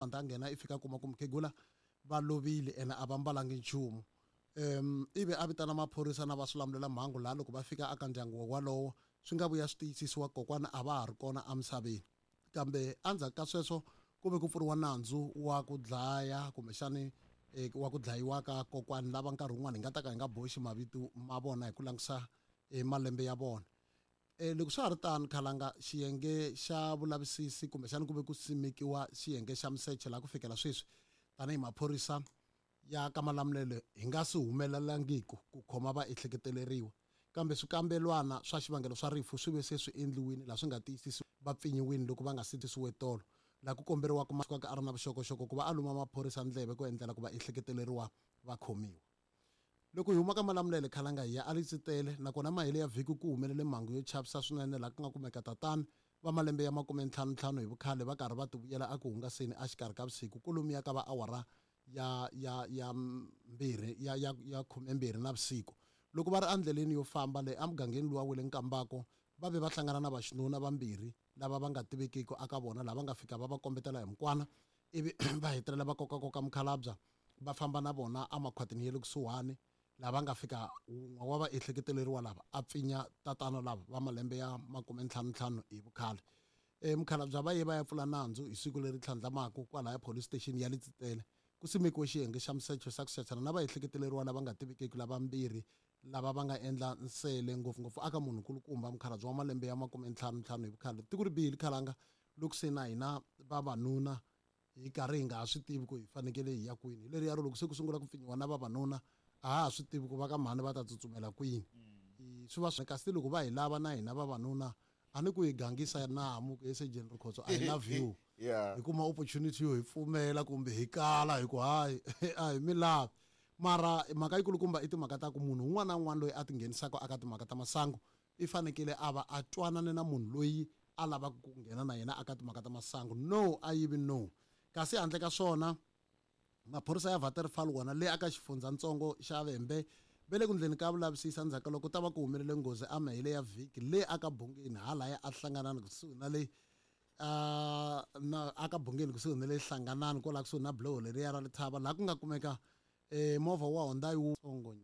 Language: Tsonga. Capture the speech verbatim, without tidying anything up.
A nghena i fika a kuma ku mukhegula va lovile ene a va mbalangi nchumu. um ivi a vitana maphorisa na va swilamulela mhangu laha loko va fika aka ndyangu walowo swi nga vuya swi tiyisisiwa kokwana a va ha ri kona emisaveni. Kambe endzhaku ka sweswo ku ve ku pfuriwa nandzu wa ku dlaya kumbexani eh, wa ku dlayiwa ka kokwani lava nkarhi wun'wani hi nga ta ka hi nga boxi mavito ma vona hi ku langutisa eh, malembe ya vona. E, loko swa ha ri tano khalanga xiyenge xa vulavisisi kumbexani ku ve ku simekiwa xiyenge xa misecho laha ku fikela sweswi tanihi maphorisa ya ka Malamulele hi nga si humelelangiku ku khoma vaehleketeleriwa, kambe swikambelwana swa xivangelo swa rifu swi ve se swi endliwile laha swi nga tiyisisi va pfinyiwile loko va nga si tisiwe tolo laha ku komberiwaka a ri na vuxokoxoko ku va a luma maphorisa ndleve ku endlela ku va ehleketeleriwa va khomiwa. Loko hi huma ka Malamulele khalanga hi ya a Letsitele, nakona mahele ya vhiki ku humelele mhangu yo chavisa swinene laha ku nga kumeka tatana va malembe ya makume ntlhanu ntlhanu hi vukhale va karhi va tivuyela eku hungaseni exikarhi ka vusiku kolomiya ka va awara ya ya ya mbirhi ya ya ya khumembirhi na vusiku. Loko va ri endleleni yo famba leyi emugangeni luwa wa le Nkambako va ve va hlangana na vaxinuna vambirhi lava va nga tivekiki aka vona lava nga fika va va kombetela hi mukwana ivi va hetelela va kokakoka mukhalabya va famba na vona emakhwatini ya le kusuhani lava nga fika wun'we wa va ehleketeleriwa lava a pfinya tatana lava va malembe ya makume ntlhanu ntlhanu hi vukhale. E mukhalabya va ye va ya pfula nandzu hi siku leri tlhandlamaka kwalaya police station ya Letsitele. Ku simekiwe xiyenge xa misecho xa ku sechana na vaehleketeleriwa lava nga tivekiki lavambirhi lava va nga endla nsele ngopfungopfu aka munhu nkulukumba mukhalabye wa malembe ya makume ntlhanu ntlhanu hi vukhale. Tiko ri bihile khalanga loko se na hina vavanuna hi karhi hi nga ha swi tivi ku hi fanekele hi ya kwini. Hi leriya ro loko se ku sungula ku pfinyiwa na vavanuna a ha ha swi tivi ku va ka mhani va ta tsutsumela kwini. Swi va swi kasi loko va hi lava na hina vavanuna a ni ku hi gangisa namu ku esejeni Rikhotso I love you. Yeah. Hi kuma opportunity yo hi pfumela kumbe hi kala hi ku hayi a hi mi lavi. Mara mhaka yikulukumba i timhaka ta ku munhu un'wana na un'wana loyi a tinghenisaka aka timhaka ta masangu i fanekele a va a twanane na munhu loyi a lavaka ku nghena na yena aka timhaka ta masangu. No a yivi no. Kasi handle ka swona maphorisa ya Waterfall wona le aka xifundzatsongo xa Vhembe ve le ku ndleni ka vulavisisa endzhaku ka loko ta va ku humelele nghozi emahele ya vhiki le aka Bungeni halaya a hlanganani kusuhi na le uh, na aka Bungeni kusuhi na le hlanganani kwala kusuhi na buloho leriya ra Lethaba laha ku nga kumeka eh, movha wa Hyundai wu tsongo.